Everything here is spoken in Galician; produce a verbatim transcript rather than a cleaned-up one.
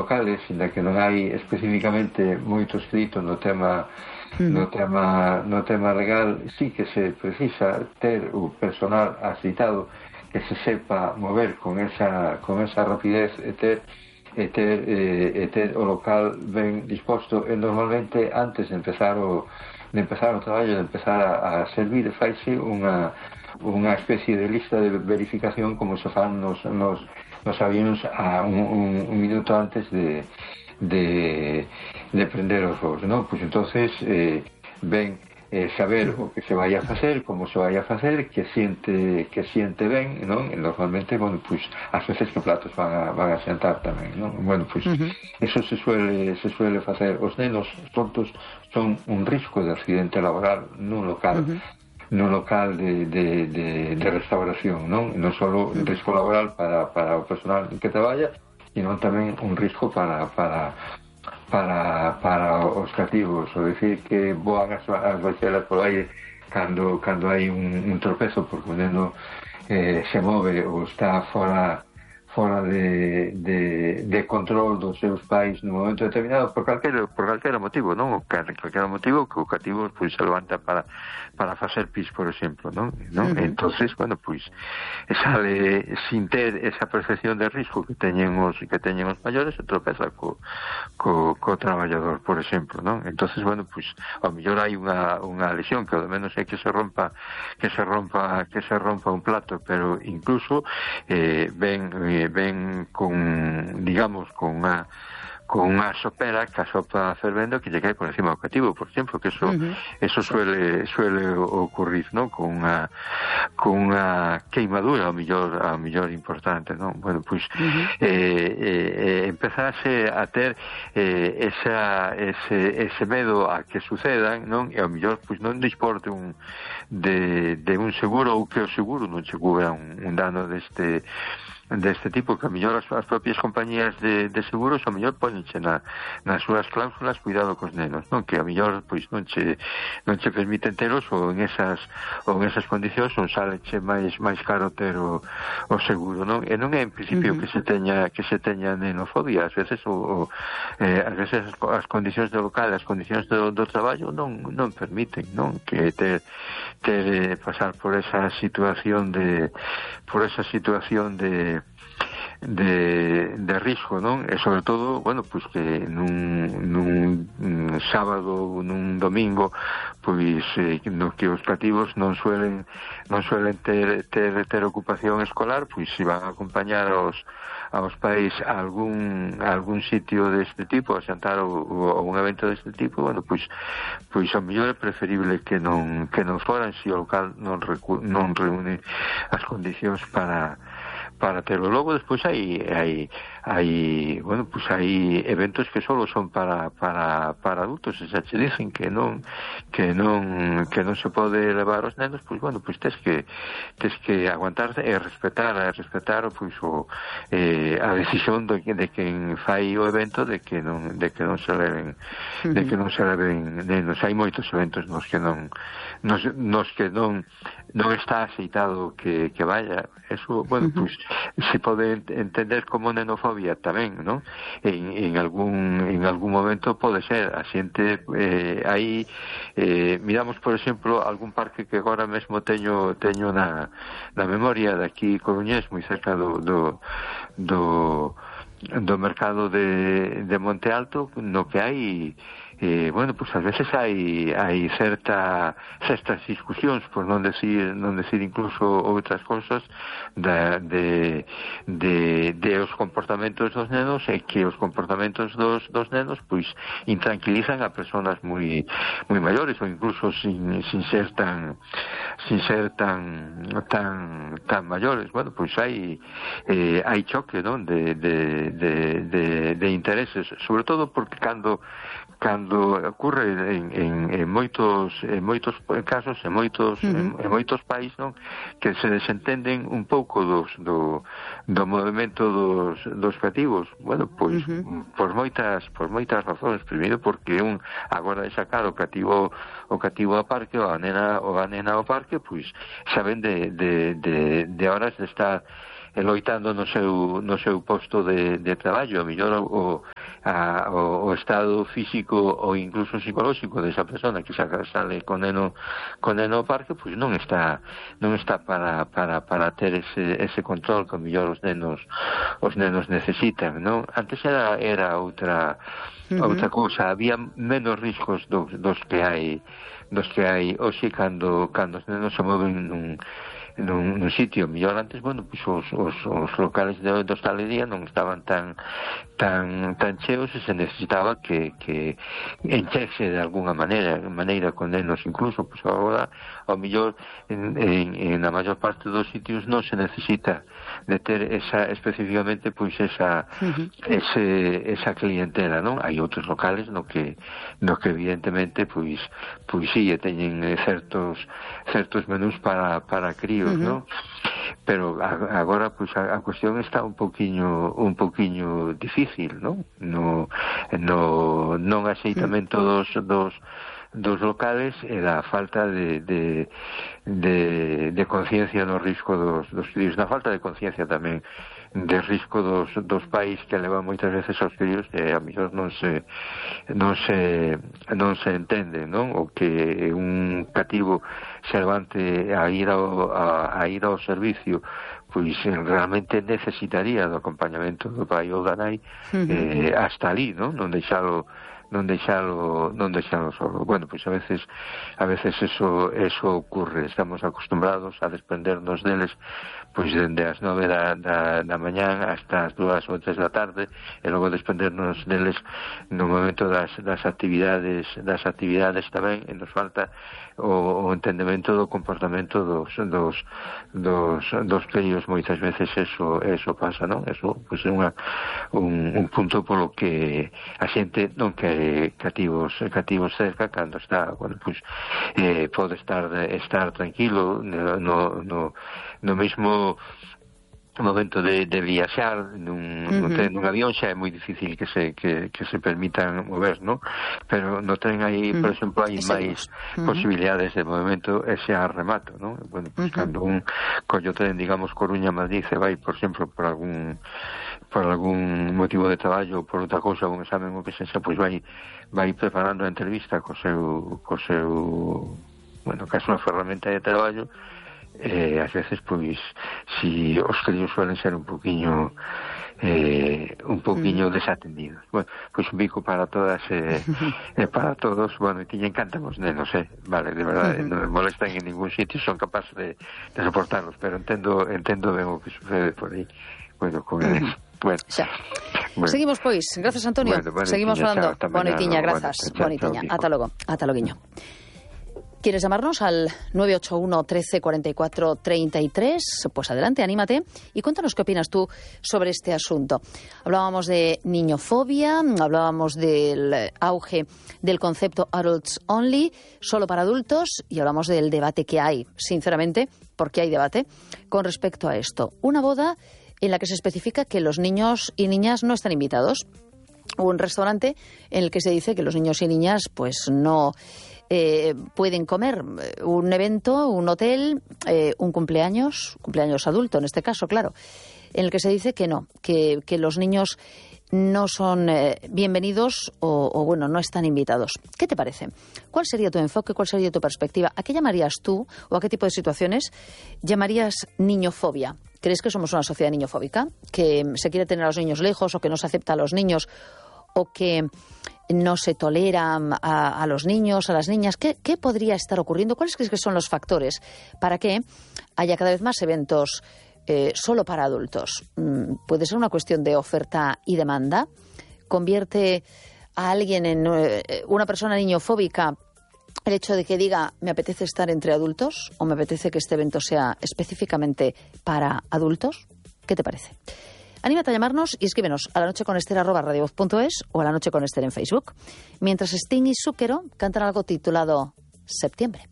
locales, ainda que non hai especificamente moito escrito no tema no tema no tema legal, sí que se precisa ter o personal asistado que se sepa mover con esa con esa rapidez e ter e ter, eh, e ter o local ben disposto, e normalmente antes de empezar o de empezar o traballo, de empezar a, a servir, faise unha unha especie de lista de verificación como se fan nos, nos, nos avións a un, un, un minuto antes de de, de prender os voos, non? Pois entonces eh, ben eh, saber o que se vai a facer, como se vai a facer, que siente que siente ben, non? E normalmente, bueno, pois as veces que platos van a, van a sentar tamén, non? Bueno, pois uh-huh. eso se suele se suele facer. Os nenos tontos son un risco de accidente laboral nun local uh-huh. nun local de, de, de, de restauración, non? Non só un risco laboral para, para o personal que traballa, sino tamén un risco para para para para os cativos, o decir que voan as, as baixelas por aire cando cando hai un, un tropezo porque o neno eh, se move ou está fora fora de, de, de control dos seus pais no momento determinado por calquera, por calquera motivo, non? O calquera motivo que o cativo pois, se levanta para, para facer pis, por exemplo, non? non? Uh-huh. Entonces, bueno, pois sale sin ter esa percepción de risco que teñen os, que teñen os maiores e tropeza co, co, co traballador, por exemplo, non? Entonces, bueno, pois ao mellor hai unha, unha lesión que ao menos é que se rompa que se rompa que se rompa un plato, pero incluso eh, ben eh, ven con, digamos, con unha con unha sopera que a sopa fervendo que lle cae por encima do cativo, por exemplo, que eso uh-huh. eso suele suele ocurrir, ¿no? Con unha con unha queimadura ao millor ao millor importante, ¿no? Bueno, pois uh-huh. eh, eh, empezase a ter eh, esa ese ese medo a que sucedan, non? E ao millor pois non dispor de un de de un seguro ou que o seguro non che cubra un, un dano deste deste tipo, que a mellor as, as propias compañías de, de seguros a mellor ponenche na, nas súas cláusulas cuidado cos nenos, non? Que a mellor pois non che non che permiten teros ou en esas ou en esas condicións non saleche máis máis caro ter o, o seguro, non? E non é en principio uh-huh. que se teña que se teña nenofobia, ás veces o, o eh, ás veces as, as condicións do local, as condicións do, do traballo non non permiten, non? Que ter ter eh, pasar por esa situación de por esa situación de de, de risco, non? E sobre todo, bueno, pois que nun, nun sábado, nun domingo, pois eh, no que os cativos non suelen non suelen ter, ter, ter ocupación escolar, pois se van a acompañar aos aos pais a algún a algún sitio deste tipo, a xantar ou, ou un evento deste tipo, bueno, pois pois ao mellor é preferible que non que non foran se o local non recu- non reúne as condicións para para terlo. Logo despois hai hai hai, bueno, pues hai eventos que solo son para para para adultos, e xa che dicen que non que non que non se pode levar os nenos, pois bueno, pois tes que tes que aguantar e respetar, e respetar pois o eh, a decisión de, de quen fai o evento de que non de que non se leven de que non se leven nenos. Hai moitos eventos nos que non nos, nos que non non está aceitado que, que vaya. Eso, bueno, uh-huh. pues se pode entender como nenofobia tamén, non? En, en algún en algún momento pode ser a xente eh, aí eh, miramos, por exemplo, algún parque que agora mesmo teño teño na, na memoria de aquí Coruñés, moi cerca do do, do do mercado de, de Monte Alto, no que hai eh, bueno, pues ás veces hai hai certa certas discusións, por non decir non decir incluso outras cousas da, de, de de os comportamentos dos nenos, e que os comportamentos dos, dos nenos pois intranquilizan a persoas moi moi maiores, ou incluso sin, sin ser tan sin ser tan tan tan maiores. Bueno, pois hai eh, hai choque, non, de de, de, de de intereses, sobre todo porque cando cando ocurre en, en, en moitos en moitos casos, en moitos uh-huh. en, en moitos países, non, que se desentenden un pouco dos do, do movimento dos dos cativos. Bueno, pois uh-huh. por moitas por moitas razóns. Primeiro porque un agora de sacar o cativo o cativo ao parque, ou a nena ou a nena ao parque, pois saben de de de, de horas de estar loitando no seu, no seu posto de, de traballo, a mellor o, a, o, o estado físico ou incluso psicolóxico desa persona que saca, sale con neno, con neno ao parque, pois non está non está para, para, para ter ese, ese control que a mellor os nenos os nenos necesitan, non? Antes era, era outra uh-huh. outra cousa, había menos riscos dos, dos que hai dos que hai hoxe cando, cando os nenos se moven nun nun, nun sitio mellor. Antes, bueno, pues os, os, os locales de, de hostalería non estaban tan tan tan cheos e se necesitaba que, que enchese de alguna maneira maneira con nenos incluso, pues agora ao mellor en, en, en a maior parte dos sitios non se necesita de ter esa especificamente pois esa uh-huh. ese, esa clientela, non? Hai outros locales no que no que evidentemente pois pois si sí, teñen certos certos menús para para críos, uh-huh. non? Pero a, agora pois a, a cuestión está un poquiño un poquiño difícil, non? No no non aceitamento dos dos dos locales e da falta de de, de, de conciencia no risco dos, dos fillos, na falta de conciencia tamén de risco dos, dos pais que levan moitas veces aos fillos e a mellor non se non se non se entende, non? O que un cativo se levante a ir ao, a, a ir ao servicio pois realmente necesitaría do acompañamento do pai ou da nai uh-huh. eh, hasta ali, non? Non deixalo non deixalo non deixalo solo. Bueno, pois a veces a veces eso eso ocurre, estamos acostumbrados a desprendernos deles pois dende as nove da, da, da mañán hasta as dúas ou tres da tarde e logo desprendernos deles no momento das, das actividades das actividades tamén, e nos falta o, o entendemento do comportamento dos dos dos, dos críos. Moitas veces eso eso pasa, non? Eso pois é unha un, un punto polo que a xente non quere cativos cativos cerca cando está, bueno, pues eh, pode estar estar tranquilo no no no mesmo momento de, de viaxar nun, uh-huh. nun, nun avión xa é moi difícil que se que, que se permitan mover, ¿no? Pero no ten aí, uh-huh. por exemplo, hai máis uh-huh. posibilidades de movimento e xa remato, ¿no? Bueno, pues uh-huh. cando un collo tren, digamos, Coruña-Madrid se vai, por exemplo, por algún por algún motivo de traballo ou por outra cousa, un examen ou que sexa, pois vai vai preparando a entrevista co seu co seu bueno, que é unha ferramenta de traballo. Eh, ás veces, pois, si os críos suelen ser un poquinho eh, un poquinho mm. desatendidos. Bueno, pois un bico para todas e eh, eh, para todos. Bueno, e tiñen encantan os nenos, eh? Vale, de verdade, mm-hmm. non me molestan en ningún sitio, son capaces de, de soportarlos, pero entendo entendo ben o que sucede por aí. Bueno, con eles. Mm-hmm. Bueno. Bueno. Seguimos, pois. Grazas, Antonio. Bueno, Seguimos falando. Bonitiña, grazas. Bonitiña. Ata logo. Ata loguiño. ¿Quieres llamarnos al nueve ocho uno, trece, cuarenta y cuatro, treinta y tres? Pues adelante, anímate y cuéntanos qué opinas tú sobre este asunto. Hablábamos de niñofobia, hablábamos del auge del concepto adults only, solo para adultos, y hablamos del debate que hay, sinceramente, porque hay debate, con respecto a esto. Una boda en la que se especifica que los niños y niñas no están invitados. Un restaurante en el que se dice que los niños y niñas pues no eh, pueden comer. Un evento, un hotel, eh, un cumpleaños, cumpleaños adulto en este caso, claro, en el que se dice que no, que, que los niños no son eh, bienvenidos o, o, bueno, no están invitados. ¿Qué te parece? ¿Cuál sería tu enfoque? ¿Cuál sería tu perspectiva? ¿A qué llamarías tú o a qué tipo de situaciones llamarías niñofobia? ¿Crees que somos una sociedad niñofóbica? ¿Que se quiere tener a los niños lejos o que no se acepta a los niños o que no se tolera a, a los niños, a las niñas? ¿Qué, ¿Qué podría estar ocurriendo? ¿Cuáles crees que son los factores para que haya cada vez más eventos Eh, solo para adultos? Mm, ¿puede ser una cuestión de oferta y demanda? ¿Convierte a alguien en eh, una persona niñofóbica el hecho de que diga me apetece estar entre adultos o me apetece que este evento sea específicamente para adultos? ¿Qué te parece? Anímate a llamarnos y escríbenos a la noche con Esther arroba radiovoz punto es o a la noche con Esther en Facebook. Mientras Sting y Zúquero cantan algo titulado Septiembre.